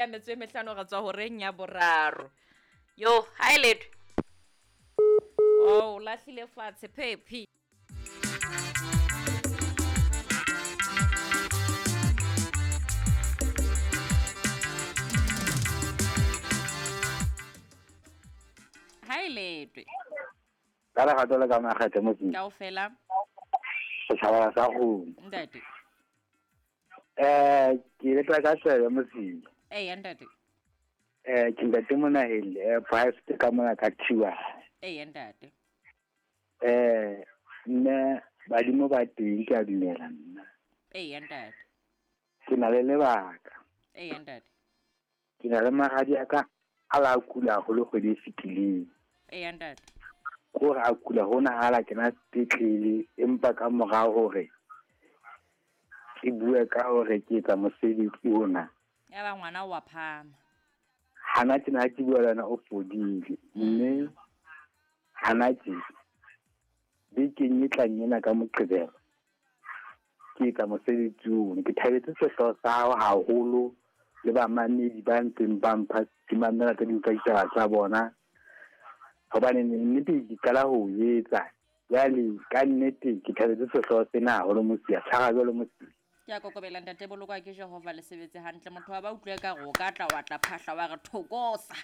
Ya metso e mehlano re tswa horeng ya boraro. Yo, ha e letho. Oh, o lahlile fatshe phephi. Ha e letwe. Ka lerato le ka makgethe motseng. Kaofela. Setjhaba sa kgomo. Ntate. Ke ile ka tsebe motseng. Eya ntate. Ke ntate Monaheng, private ka mona ka Thiwa. Eya ntate. Nna badimo ba teng ke a dumela nna. Eya ntate. Ke na le lebaka. Eya ntate. Ke na le mahadi a ka a la kula haholo kgwedi e fetileng. Eya ntate. Kore a kula hona ha la kena sepetlele, empa ka mora hore ke bue ka hore ke etsa mosebetsi ona. Ya ba ngwana wa phama. Hana tjena ha ke bua le wena o fodile. Mme hana tje bekeng e tlang ena ka Moqebelo ke etsa mosebetsi ono. Ke thabetse sehlooho sa hao haholo le bamamedi ba ntseng ba mpha ke mamela tse ding tsa ditaba tsa bona. Hobane nnete ke qala ho etsa. Jwale ka nnete ke thabetse sehlooho sena haholo Mosia. Tshwara jwalo Mosia. Ke a kokobela ntate, bolokwa ke Jehova le sebetse hantle. Motho wa ba utlwe ka re o ka tla wa tla phahla wa re thokosa.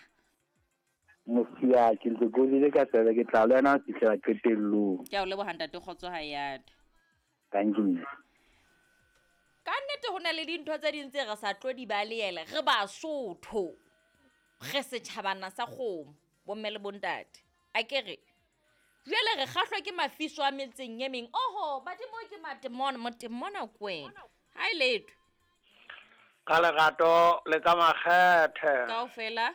Mosia, ke ntse ke o ka tsebe ke tla le wena ho fihlela qetellong. Ke a o leboha ntate, kgotso ha e ate. Thank you. Ka nnete ho na le dintho tse ding tse re sa tlo di balehela, re Basotho. Re setjhabana sa kgomo, bomme le bontate. A ke re jwale re kgahlwa ke mafiso a metseng e meng. Oho, badimo ke matemona, motemona kwena. Ha e letho. Ka lerato le ka makgethe. Kaofela.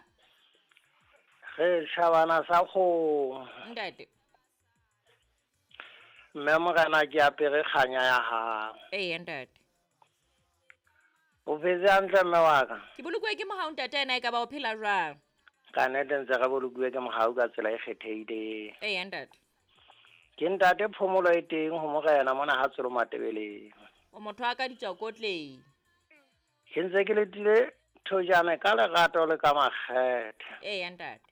Re tjhabana sa kgomo. Ntate. Mme morena ke apere kganya ya hao. Eya ntate. O phetse hantle mme wa ka? Ke bolokuwe ke mohau ntate, ena e ka ba o phela jwang? Ka nnete ntse re bolokuwe ke mohau ka tsela e kgethehileng. Eya ntate. Ke ntate phomolo e teng ho morena mona ha Tsolo Matebeleng. O motho wa ka ditswakotleng. Ke ntse ke letile thojane ka lerato le ka makgethe. Eya ntate.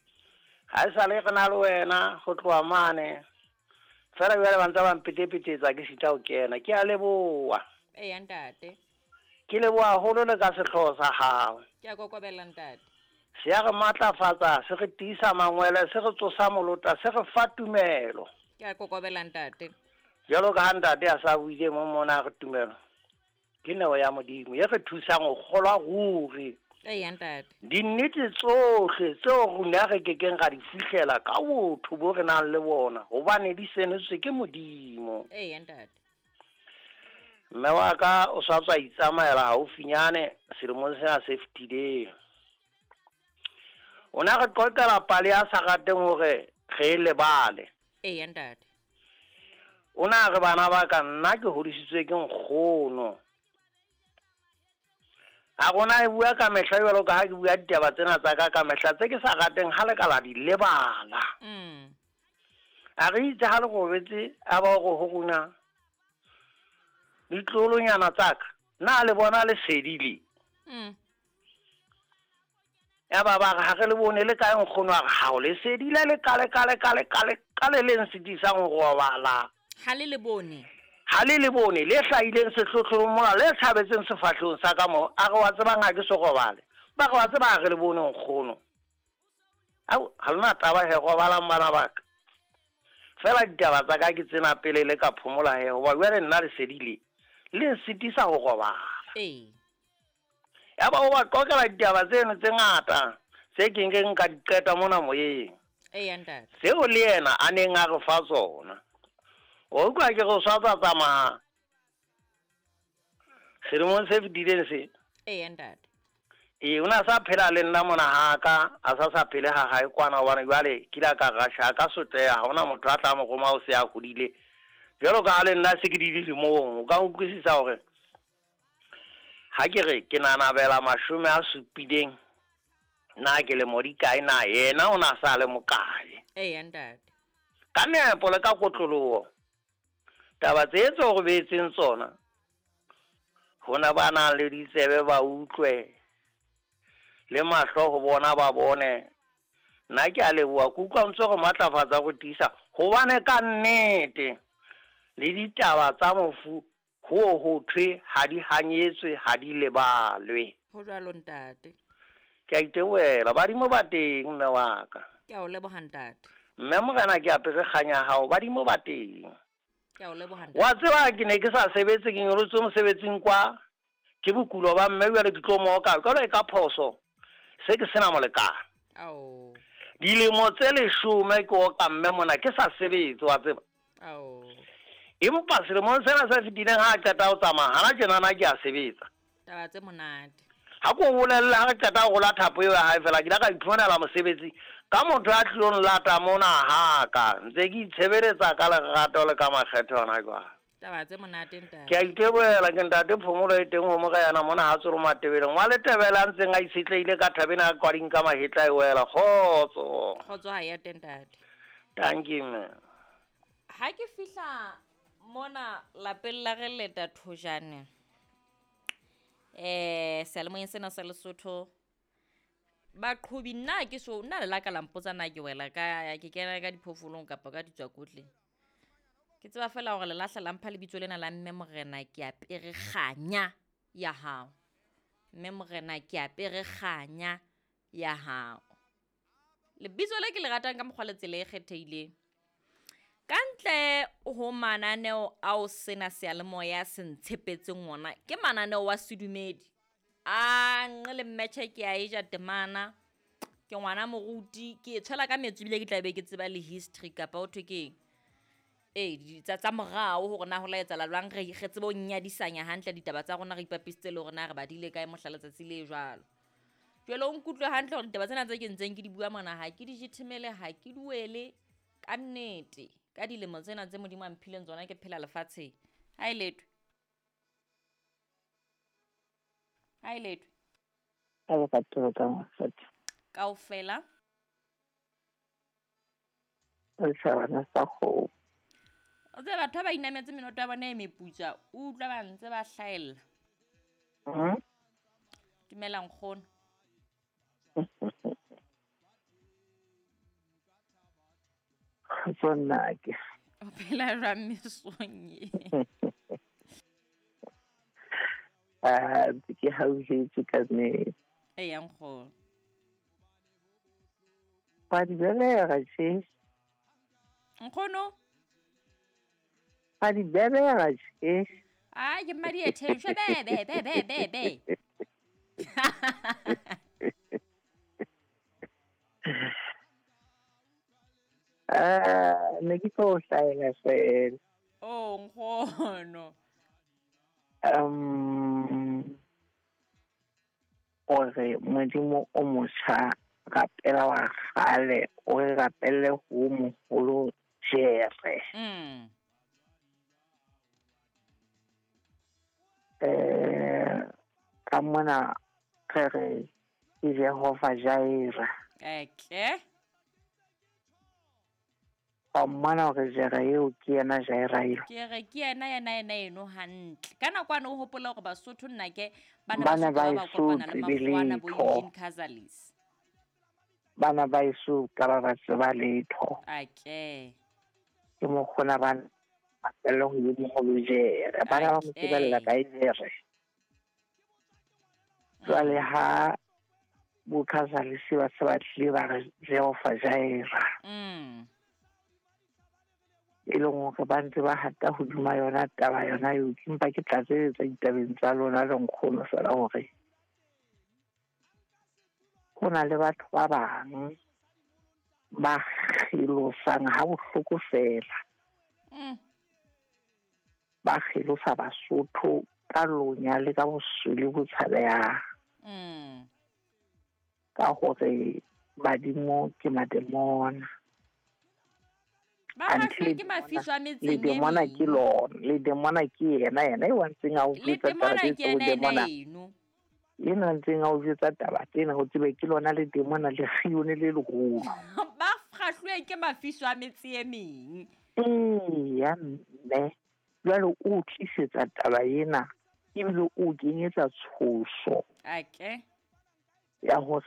Ha e sale re na le wena ho tloha mane. Fela jwale ba ntse ba mpetepetetsa ke sita ho kena. Ke a leboha. Eya ntate. Ke leboha haholo le ka sehlooho sa hao. Ke a kokobela ntate. Se a re matlafatsa, se re tiisa mangwele, se re tsosa molota, se re fa tumelo. Ke a kokobela ntate. Jwalo ka ha ntate a sa buile mo mona re tumelo. Ke neo ya Modimo e re thusang ho kgolwa ruri. Eya ntate. Dinnete tsohle tseo rona re kekeng ra di fihlela ka botho bo re nang le bona, hobane di senotswe ke Modimo. Eya ntate. Mme wa ka o sa tswa itsamaela haufinyane selemong sena se fetileng. O na re qoqela pale ya sa rateng hore re e lebale. Eya ntate. O na re bana ba ka nna ke hodisitswe ke nkgono. A rona e bua ka mehla jwalo ka ha ke bua ditaba tsena tsa ka ka mehla tse ke sa rateng ha le ka la di lebala. A re itse ha le robetse a ba hore ho rona ditloholonyana tsa ka na le bona lesedi le. Ya ba ba re ha re le bone le kae nkgono, a re ha o lesedi le le kale kale kale kale kale le nsitisang ho robala. Ha le le bone. Ha le le bone le hlahileng sehlohlolong mona le thabetseng sefahlehong sa ka mo, a re wa tsebang ha ke so robale. Ba re wa tseba ha re le bone nkgono. Au, ha lona taba he robalang bana ba ka. Fela ditaba tsa ka ke tsena pele le ka phomola he, hoba jwale nna lesedi le le nsitisa ho robala. Ee. Ya ba o ba qoqela ditaba tseno tse ngata tse ke nkeng ka di qeta mona moyeng. Eya ntate. Seo le yena a neng a re fa tsona. O utlwa ke re o sa tsa tsamaya selemong se fetileng se. Eya ntate. Ee, o na sa phela le nna mona ha ka, a sa sa phele ha hae kwana, hobane jwale ke ile ka rasha, ka sotleha, ha hona motho a tla mo roma o se a hodile. Jwalo ka ha le nna se ke di dilemong, o ka utlwisisa hore ha ke re ke nanabela 70 na ke le modikae na yena o na sa le mokae. Eya ntate. Ka nepo le ka kotloloho taba tse tse o robetseng tsona hona ba nang le ditsebe ba utlwe. Le mahlo ho bona ba bone. Nna ke a leboha, ke utlwa o ntso re matlafatsa go tiisa gobane ka nnete le ditaba tsa mofu ho ho thwe ha di hanyetswe, ha di lebalwe. Ho jwalo ntate. Ke a itebohela, badimo ba teng mme wa ka. Ke a o leboha ntate. Mme morena ke apere kganya ya hao, badimo ba teng. Ke a o leboha ntate. Wa tseba ke ne ke sa sebetse, ke nyolotswe mosebetsing kwa ke bokulo ba mme, jwale ke tlo mooka jwale ka phoso se ke sena molekane. Ao. Dilemo tse 10 ke oka mme mona ke sa sebetse, wa tseba. Ao. Empa selemong sena se fetileng ha a qeta ho tsamaya, hana tjenana ke a sebetsa. Taba tse monate. Ha ko bolelle ha re qeta ho rola thapo eo ya hae fela, ke ile ka iphumanela mosebetsi ka motho a tlilong lata mona haka. Ntse ke itshebeletsa ka lerato le ka makgetho hona jwale. Taba tse monate ntate. Ke a itebohela ke ntate Phomolo e teng ho morena mona ha tsoro Matebeleng. Wa Letebele a ntseng a itshetlehile ka thabeng a kwading ka mahetla e wela. Kgotso. Kgotso ha ya teng ntate. Thank you mme. Ha ke fihla mona lapeng la re leta thojane. Seyalemoyeng sena sa Lesotho baqhobi nna ke so nna le la ka la mpotsa na ke wela ka ke kena ka diphoofolong kapa ka ditswakotleng. Ke tseba fela hore le lahla la mpha lebitso lena la mme morena ke apere kganya ya hao. Mme morena ke apere kganya ya hao. Lebitso le ke le ratang ka mokgwa le tsela e kgethehileng. Ka ntle ho mananeo ao sena seyalemoya se ntshepetseng ona, ke mananeo wa sedumedi. A nqe le mmetjhe ke a e ja temana, ke ngwana moruti, ke e tshwela ka metso ebile ke tla be ke tseba le history kapa ho thwe keng. Tsa morao hore na ho la etsahala jwang, re tsebe ho nyadisanya hantle ditaba tsa rona, re ipapisitse le hore na re badile kae mohla letsatsi le jwalo. Jwale o nkutlwe hantle hore ditaba tsena tse ke ntseng ke di bua mona ha ke di jethemele, ha ke di wele ka nnete. Ka dilemo tsena tse Modimo a mphileng tsona ke phela lefatsheng. Ha e letwe. Ha e letwe. Ka lerato ka mosadi. Kaofela. Setjhabana sa kgomo. O tsebe batho ba inametse menoto ya bona e meputswa, o utlwa ba ntse ba hlahella. Dumela nkgono. Kgotso nnake. O phela jwang mesong e? Ke hauhetswe ka nnete. Eya nkgono. Wa di belega tje. Nkgono? Wa di belega tje. Ai, ke mmadi e theswe be be be be be be. Ne ke tlo hlahela fela. Oh, nkgono. Hore Modimo o motjha rapela wa kgale, o re rapelle ho moholo Jere. Ka mona re re ke Jehova Jaira. Okay. Wa mmona hore Jere eo ke yena Jaira eo. Ke re ke yena yena yena eno hantle. Ka nako ane o hopola hore Basotho nna ke bana Bana ba ba ba eso kopana le tsebe Makgowana bo letho. Eugene Casalis. Bana ba eso ka ba ba tseba letho. Okay. Ke mokgona ba rapelle ho ye moholo Jere. Bana ba mo tsebella kae Jere. Jwale ha bo Casalis ba se ba tlile ba re Jehova Jaira. E leng hore ba ntse ba hata hodima yona taba yona eo, ke mpa ke tlatseletsa ditabeng tsa lona le nkgono fela hore ho na le batho ba bang ba kgelosang ha bohloko fela. Ba kgelosa Basotho ka lonya le ka boswele bo tshabehang. Ka hore badimo ke mademona. Ba Until ke mafiso a metseng le e demona ke meng. lona, le demona ke yena, yena eo a ntseng a o Le jwetsa taba demona tse ke tse o yena yena demona. eno. Ena ntseng a o jwetsa taba tsena, ho tsebe ke lona le demona le kgione le leholo. Ba kgahluwe ke mafiso a metse e meng. Eya mme, jwale o tlisetsa taba ena ebile o kenyetsa tshoso. Okay. Ya hore.